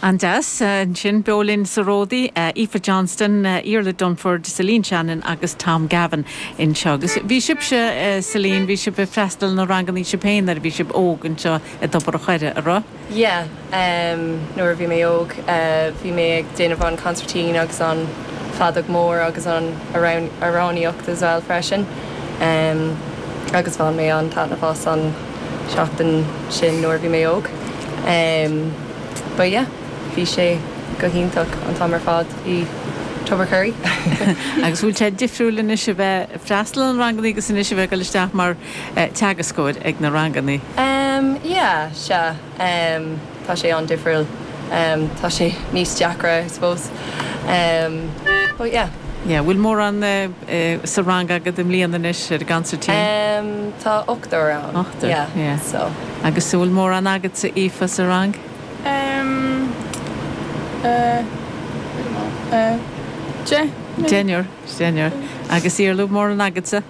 An-deas. Ansin, beo linn sa Ródaí, Aoife Johnston, Iarla Dunford, Celine Shannon agus Tom Gavin anseo. Agus bhí sibhse, Celine, bhí sibh ag freastal ar na rangannaí sibh féin nuair a bhí sibh óg anseo i dTobar a' Choire, a raibh? Yeah, nuair a bhí mé óg, bhí mé ag déanamh an consairtín agus an feadóg mór agus an amhránaíocht as well freisin. Agus bhain mé an-taitneamh as an seachtain sin nuair a bhí mé óg. But yeah, bhí sé go hiontach an t-am ar fad i Tubbercurry. Agus bhfuil sé difriúil anois a bheith ag freastal ar na rangannaí agus anois a bheith ag dul isteach mar teagascóir ag na rangannaí? Em, yeah, sea, em, tá sé an-difriúil. Em, tá sé níos deacra, I suppose. Em, but yeah. Yeah, bhfuil mórán sa rang agat i mbliana anois ar an gconsairtín? Em, tá ochtar ann. Ochtar, yeah. Yeah, so. Agus an bhfuil mórán agatsa, Aoife, sa rang? Em, eh, I don't know, eh, deichniúr. Deichniúr, deichniúr. Agus Iarla, mórán agatsa?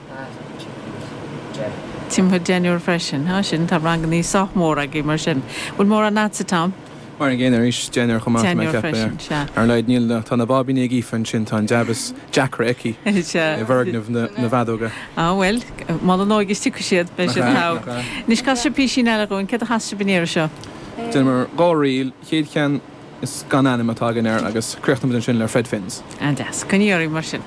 Timpeall deichniúr freisin. Á, sin, tá rangannaí sách mór agaibh mar sin. Bhfuil mórán agatsa, Tom? Mar an gcéanna arís, deichniúr chomh maith, tá mé ag Deichniúr ceapadh. freisin, sea. Ar a laghad níl, tá na báibíní ag Aoife ansin, tá an jab is deacra aici i Sea. bhfoirgneamh na bhfeadóga. Á, bhuel, mol an óige is tiocfaidh siad, beidh siad Nach ea, togha. nach ea. Anois, cas sibh písín eile dhúinn, céard a chas sibh an iarraidh seo? Déanamar dhá ríl, chéad cheann is gan ainm atá againn air agus críochnóimid ansin le Fred Finn's. An-deas. Coinnigí oraibh mar sin.